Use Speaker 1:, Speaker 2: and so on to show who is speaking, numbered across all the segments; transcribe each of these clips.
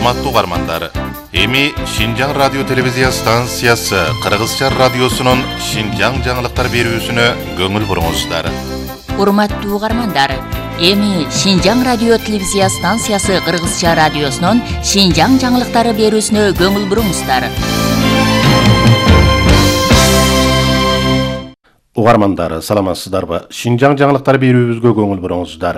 Speaker 1: Урматтуу угармандар, эми Шинжаң радио телевизия станциясы Кыргызча радиосунун Шинжаң жаңылыктар берүүсүнө көңүл буруңуздар.
Speaker 2: Урматтуу угармандар, эми Шинжаң радио телевизия станциясы Кыргызча радиосунун Шинжаң жаңылыктары берүүсүнө көңүл буруңуздар.
Speaker 3: Угармандар, саламатсыздарбы? Шинжаң жаңылыктар берүүбүзгө көңүл буруңуздар.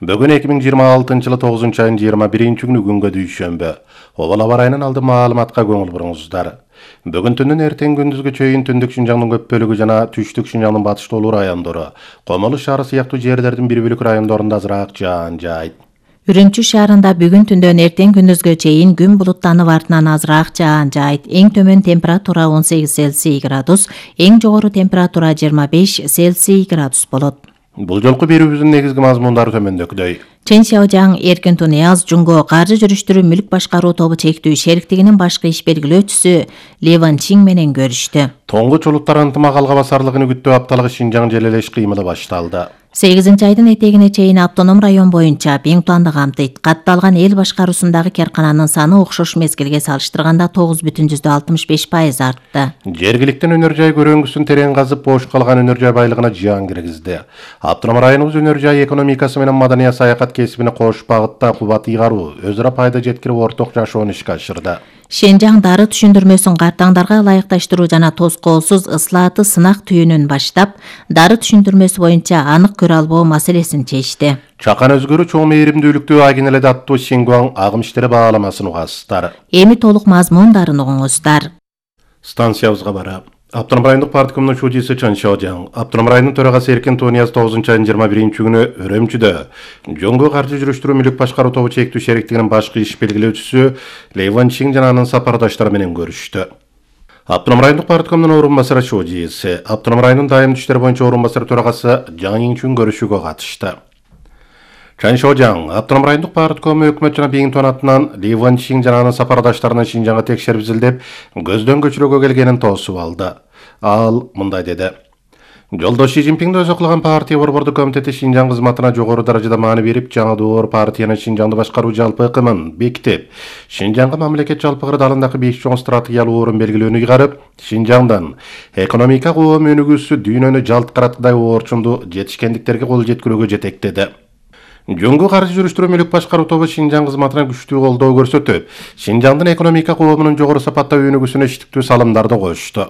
Speaker 3: Бүгүн 2026-жылы 9-айынын 21-күнү күнгө дүйшөмбү. Обал аба ырайынын алды маалыматка көңүл буруңуздар. Бүгүн түндүн эртең күндүзгө чейин түндүк Шинжаңдын көп бөлүгү жана түштүк Шинжаңдын батыштуулуу райондору, Комолу шаары сыяктуу жерлердин бир бөлүк райондорунда азыраак жаан жаайт.
Speaker 4: Үрүмчү шаарында бүгүн түндөн эртең күндүзгө чейин күн булуттанып артынан азыраак жаан жаайт. Эң төмөн температура 18 Цельсий градус, эң жогору температура 25 Цельсий градус болот.
Speaker 3: Бул жолку берүүбүздүн негизги мазмундары төмөндөгүдөй.
Speaker 4: Чен Сяожаң Эркин Тунияз Жунго каржы жүрүштүрүү мүлк башкаруу тобу чектүү шериктигинин башкы иш белгилөөчүсү Леван Чин менен көрүштү.
Speaker 3: Тоңгуч улуттар ынтымак алга басарлыгын күттөө апталыгы Шинжаң желелеш кыймылы башталды.
Speaker 4: 8-айдын этегине чейин автоном район боюнча бең планды камтыйт. Катталган эл башкаруусундагы каркананын саны окшош мезгилге салыштырганда 9,65% артты.
Speaker 3: Жергиликтен өнөр жай көрөңгүсүн терең казып бош калган өнөр жай байлыгына жыян киргизди. Автоном районубуз өнөр жай экономикасы менен маданий саякат кесибине кош багытта кубат ыйгаруу, өз ара пайда жеткирип орток жашоону ишке ашырды.
Speaker 4: Шинжаң дары түшүндүрмөсүн картаңдарга ылайыкташтыруу жана тоскоолсуз ыслааты сынак түйүнүн баштап, дары түшүндүрмөсү боюнча анык көрө албоо маселесин чечти.
Speaker 3: Чакан өзгөрүү чоң мээримдүүлүктүү агенеледи аттуу Сингуаң агым иштери бааламасын угасыздар.
Speaker 4: Эми толук мазмундарын угуңуздар.
Speaker 3: Станциябызга бара. Автоном райондук парткомдун шуудиси Чен Сяожаң, Автоном районунун төрагасы Эркин Тунияз 9-айынын 21-күнү Үрүмчүдө Жоңго каржы жүрүштүрүү мүлк башкаруу тобу чектүү шериктигинин башкы иш белгилөөчүсү Леван Чин жана анын сапардаштары менен көрүштү. Автоном райондук парткомдун орун басары шуудиси, Автоном районунун дайымдуу иштер боюнча орун басары төрагасы Жаң Инчүн көрүшүүгө катышты. Чен Сяожаң, Автоном райондук парткому өкмөт жана Биңтон атынан Леван Чин жана анын сапардаштарынын Шинжаңга текшерип изилдеп, көздөн көчүрүүгө келгенин тоосуп алды. Ал мындай деди. Жолдош Си Цзиньпиңди өзү кылган партия борбордук комитети Шинжаң кызматына жогору даражада маани берип, жаңы доор партиянын Шинжаңды башкаруу жалпы ыкымын бекитип, Шинжаңга мамлекет жалпы кырдаалындагы 5 чоң стратегиялуу орун белгилөөнү ыйгарып, Шинжаңдан экономика коом өнүгүүсү дүйнөнү жалт караткыдай орчунду жетишкендиктерге кол жеткирүүгө жетектеди. Жоңго каржы жүрүштүрүү мүлк башкаруу тобу Шинжаң кызматына күчтүү колдоо көрсөтүп, Шинжаңдын экономика коомунун жогору сапатта өнүгүүсүнө иштиктүү салымдарды кошту.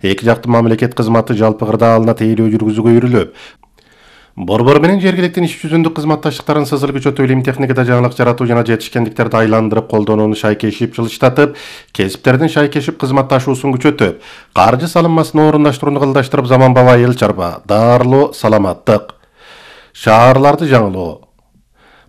Speaker 3: Эки жактуу мамлекет кызматы жалпы кырдаалына тейлөө жүргүзүүгө үйрүлүп, борбор менен жергиликтин иш жүзүндүк кызматташтыктарын сызыл күчөтүү, илим техникада жаңылык жаратуу жана жетишкендиктерди айландырып колдонууну шайкешип жылыштатып, кесиптердин шайкешип кызматташуусун күчөтүп, каржы салынмасын орундаштырууну кылдаштырып, заманбап айыл чарба, даарылуу, саламаттык, шаарларды жаңылоо,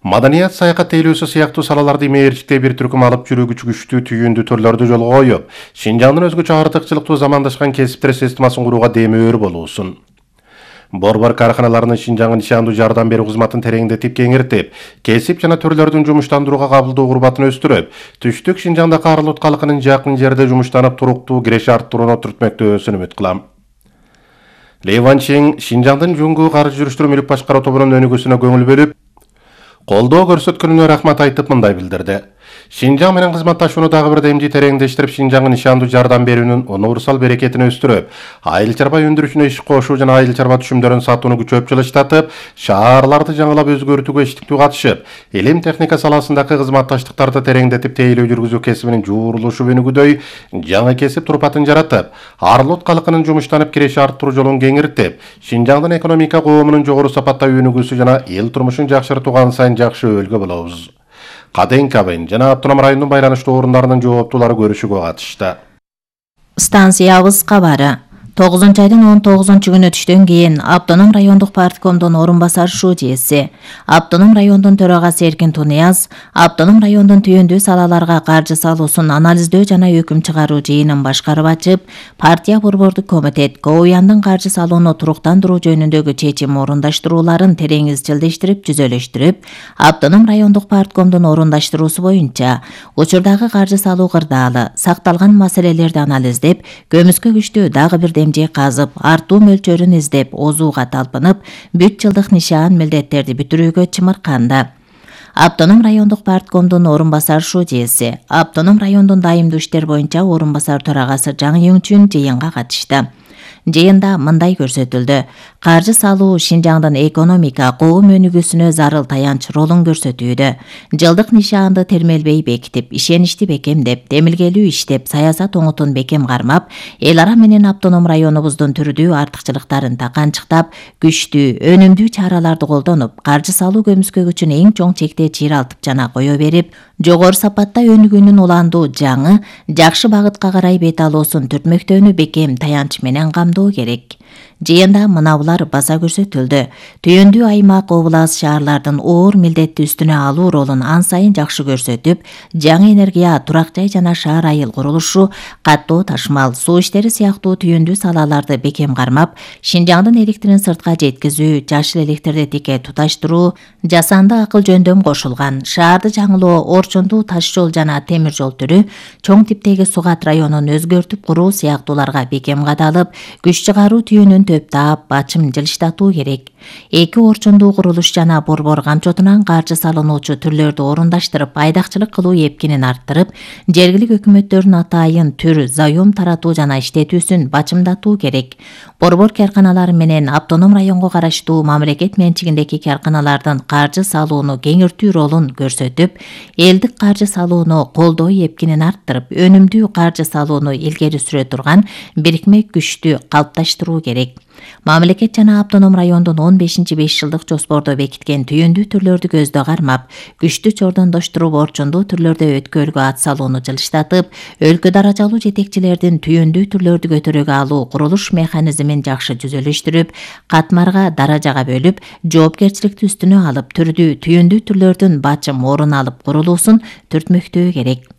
Speaker 3: маданият саякат тейлөөсү сыяктуу салаларды мээрчиктей бир түркүм алып жүрүүгүчү күчтүү түйүндүү түрлөрдү жолго коюп, Шинжаңдын өзгөчө артыкчылыктуу замандашкан кесиптер системасын курууга демөөр болуусун. Борбор карканаларынын Шинжаңга нишандуу жардам берүү кызматын тереңдетип, кеңиртип, кесип жана түрлөрдүн жумуштандырууга кабылдуу курбатын өстүрүп, түштүк Шинжаңда Карлут калкынын жакын жерде жумуштанып туруктуу киреше арттырууну түртмөктөөсүн үмүт кылам. Леван Чин Шинжаңдын Жоңго каржы жүрүштүрүү мүлк башкаруу тобунун өнүгүүсүнө көңүл бөлүп, колдоо көрсөткөнүнө рахмат айтып мындай билдирди. Шинжаң менен кызматташууну дагы бир демжи тереңдештирип, Шинжаңга нишандуу жардам берүүнүн универсал берекетин өстүрүп, айыл чарба өндүрүшүнө иш кошуу жана айыл чарба түшүмдөрүн сатууну күчөп жылыштатып, шаарларды жаңылап өзгөртүүгө иштиктүү катышып, илим техника саласындагы кызматташтыктарды тереңдетип, тейлөө жүргүзүү кесибинин жуурулушу өнүгүүдөй жаңы кесип турпатын жаратып, Арлут калкынын жумуштанып киреше арттыруу жолун кеңиртип, Шинжаңдын экономика коомунун жогору сапатта өнүгүүсү жана эл турмушун жакшыртууга сайын жакшы өбөлгө болобуз. Каден Кабен жана Автоном районунун байланыштуу орундарынын жооптуулары көрүшүүгө катышты.
Speaker 4: Станциябыз кабары. 9-айдын 19-күнү түштөн кийин Автоном райондук парткомдун орун басары шуудиси, Автоном райондун төрагасы Эркин Тунияз, Автоном райондун түйүндүү салаларга каржы салуусун анализдөө жана өкүм чыгаруу жыйынын башкарып ачып, партия борбордук комитет КООЯндын каржы салууну туруктандыруу жөнүндөгү чечим орундаштырууларын терең изчилдештирип, жүзөлөштүрүп, Автоном райондук парткомдун орундаштыруусу боюнча учурдагы каржы салуу кырдаалы, сакталган маселелерди анализдеп, көмүскө күчтүү дагы бир демже казып, артуу мөлчөрүн издеп, озууга талпынып, бүт жылдык нишан милдеттерди бүтүрүүгө чымырканды. Автоном райондук парткомдун орун басар шудеси, Автоном райондун дайымдуу иштер боюнча орун басар төрагасы Жаңы Юңчүн жыйынга катышты. Жыйында мындай көрсөтүлдү. Каржы салуу Шинжаңдын экономика коом өнүгүүсүнө зарыл таянч ролун көрсөтүүдө. Жылдык нишаанды термелбей бекитип, ишеничти бекемдеп, демилгелүү иштеп, саясат оңотун бекем кармап, эл ара менен автоном районубуздун түрдүү артыкчылыктарын таканчыктап, күчтүү, өнүмдүү чараларды колдонуп, каржы салуу көмүскөгүчүн эң чоң чекте чыйралтып жана кое берип, жогору сапатта өнүгүүнүн уландуу жаңы, жакшы багытка карай бет алуусун түртмөктөөнү бекем таянч менен камдоо керек. Жыйында мынабулар баса көрсөтүлдү. Түйүндүү аймак, облас, шаарлардын оор милдетти үстүнө алуу ролун ан сайын жакшы көрсөтүп, жаңы энергия, турак жай жана шаар айыл курулушу, каттоо ташмал, суу иштери сыяктуу түйүндүү салаларды бекем кармап, Шинжаңдын электрин сыртка жеткизүү, жашыл электрди тике туташтыруу, жасанды акыл жөндөм кошулган, шаарды жаңылоо, орчундуу таш жол жана темир жол түрү, чоң типтеги Сугат районун өзгөртүп куруу сыяктууларга бекем кадалып, күч чыгаруу түйүнүн төп таап, бачым жылыштатуу керек. Эки орчундуу курулуш жана борбор камчотунан каржы салынуучу түрлөрдү орундаштырып, айдакчылык кылуу эпкинин арттырып, жергилик өкмөттөрдүн атайын түр, заем таратуу жана иштетүүсүн бачымдатуу керек. Борбор карканалары менен автоном районго караштуу мамлекет менчигиндеги карканалардын каржы салууну кеңиртүү ролун көрсөтүп, элдик каржы салууну колдоо эпкинин арттырып, өнүмдүү каржы салууну илгери сүрө турган бирикме күчтү калыпташтыруу керек. Мамлекет жана автоном райондун 15-5 жылдык жоспордо бекиткен түйүндүү түрлөрдү көздө кармап, күчтү чордондоштуруп, орчундуу түрлөрдө өткөлгө ат салууну жылыштатып, өлкө даражалуу жетекчилердин түйүндүү түрлөрдү көтөрүүгө алуу курулуш механизмин жакшы түзүлүштүрүп, катмарга, даражага бөлүп, жоопкерчиликти үстүнө алып, түрдүү түйүндүү түрлөрдүн бачым орун алып курулуусун түртмөктөө керек.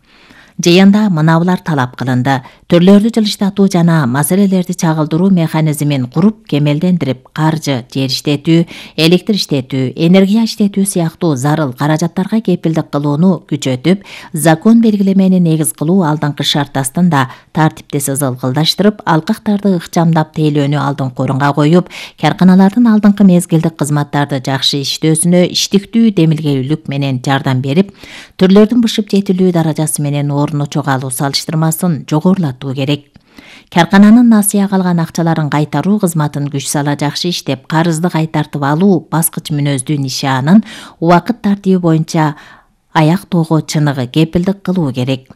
Speaker 4: Жыйында мынабулар талап кылынды. Түрлөрдү жылыштатуу жана маселелерди чагылдыруу механизмин куруп, кемелдендирип, каржы, жер иштетүү, электр иштетүү, энергия иштетүү сыяктуу зарыл каражаттарга кепилдик кылууну күчөтүп, закон белгилемени негиз кылуу алдыңкы шарт астында тартипти сызылкылдаштырып, алкактарды ыкчамдап тейлөөнү алдыңкы орунга коюп, карканалардын алдыңкы мезгилдик кызматтарды жакшы иштөөсүнө иштиктүү демилгелүүлүк менен жардам берип, түрлөрдүн бышып жетилүү даражасы менен орну чогалуу салыштырмасын жогорулатуу керек. Каркананын насыя калган акчаларын кайтаруу кызматын күч сала жакшы иштеп, карызды кайтартып алуу баскыч мүнөздүү нишаанын убакыт тартиби боюнча аяктоого чыныгы кепилдик кылуу керек.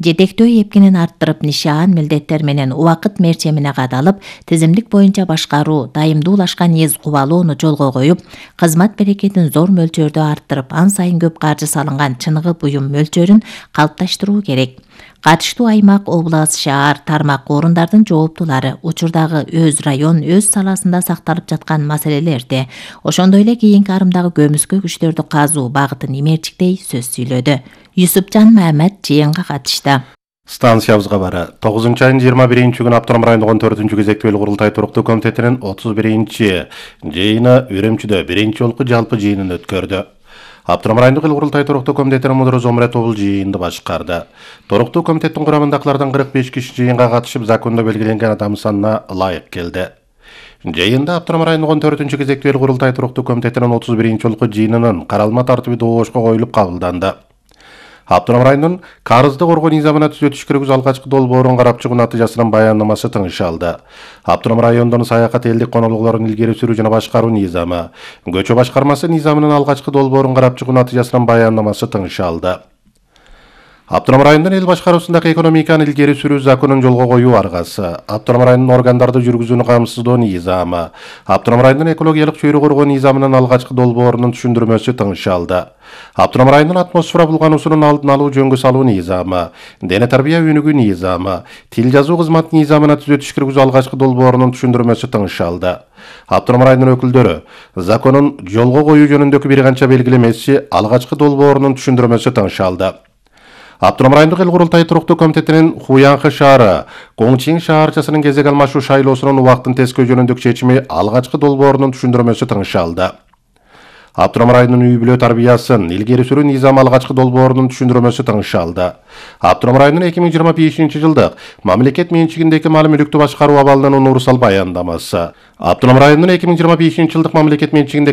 Speaker 4: Жетектөө эпкинин арттырып, нишаан милдеттер менен убакыт мерчемине кадалып, тизимдик боюнча башкаруу, дайымдуулашкан эз кубалоону жолго коюп, кызмат берекетин зор мөлчөрдө арттырып, ан сайын көп каржы салынган чыныгы буюм мөлчөрүн калыпташтыруу керек. Катыштуу аймак, облас, шаар, тармак орундардын жооптулары учурдагы өз район, өз саласында сакталып жаткан маселелерди, ошондой эле кийинки арымдагы көмүскө күчтөрдү казуу багытын имерчиктей сөз сүйлөдү. Юсупжан Мамед жыйынга катышты.
Speaker 3: Станциябызга бара 9-айдын 21-күнү Автоном райондук 14-күн кезектүү курултай туруктуу комитетинин 31-чи жыйыны Үрөмчүдө биринчи жолку жалпы жыйынын өткөрдү. Автоном райондук курултай туруктуу комитетинин мудуру Зомрет Обул жыйынды башкарды. Туруктуу комитеттин курамындагылардан 45 киши жыйынга катышып, закондо белгиленген адам санына ылайык келди. Жыйында Автоном райондук 14-күн кезектүү курултай туруктуу комитетинин 31-чи жолку жыйынынын каралма тартиби добошко коюлуп кабылданды. Автоном районунун карызды коргоо низамына түзөтүш киргизүү алгачкы долбоорун карап чыгуу натыйжасынын баяндамасы тыңшалды. Автоном райондун саякат элдик конолуклорун илгери сүрүү жана башкаруу низамы, көчө башкармасы низамынын алгачкы долбоорун карап чыгуу натыйжасынын баяндамасы тыңшалды. Автоном райондун эл башкаруусундагы экономиканы илгери сүрүү законун жолго коюу аргасы, Автоном районунун органдарды жүргүзүүнү камсыздоо низамы, Автоном районунун экологиялык чөйрө коргоо низамынын алгачкы долбоорунун түшүндүрмөсү тыңшалды. Автоном районунун атмосфера булгануусунун алдын алуу жөнгө салуу низамы, дене тарбия өнүгүү низамы, тил жазуу кызматы низамына түзөтүш киргизүү алгачкы долбоорунун түшүндүрмөсү тыңшалды. Автоном районунун өкүлдөрү законун жолго коюу жөнүндөгү бир канча белгилемеси алгачкы долбоорунун түшүндүрмөсү тыңшалды. Автоном райондук эл курултай туруктуу комитетинин Хуянхы шаары, Коңчиң шаарчасынын кезек алмашуу шайлоосунун убактын тескөө жөнүндөгү чечими алгачкы долбоорунун түшүндүрмөсү тыңшалды. Автоном районунун үй-бүлө тарбиясын илгери сүрүү низамы алгачкы долбоорунун түшүндүрмөсү тыңшалды. Автоном районунун 2025 жылдык мамлекет менчигиндеги мал мүлүктү башкаруу абалынын универсал баяндамасы. Автоном районунун 2025 жылдык мамлекет менчигиндеги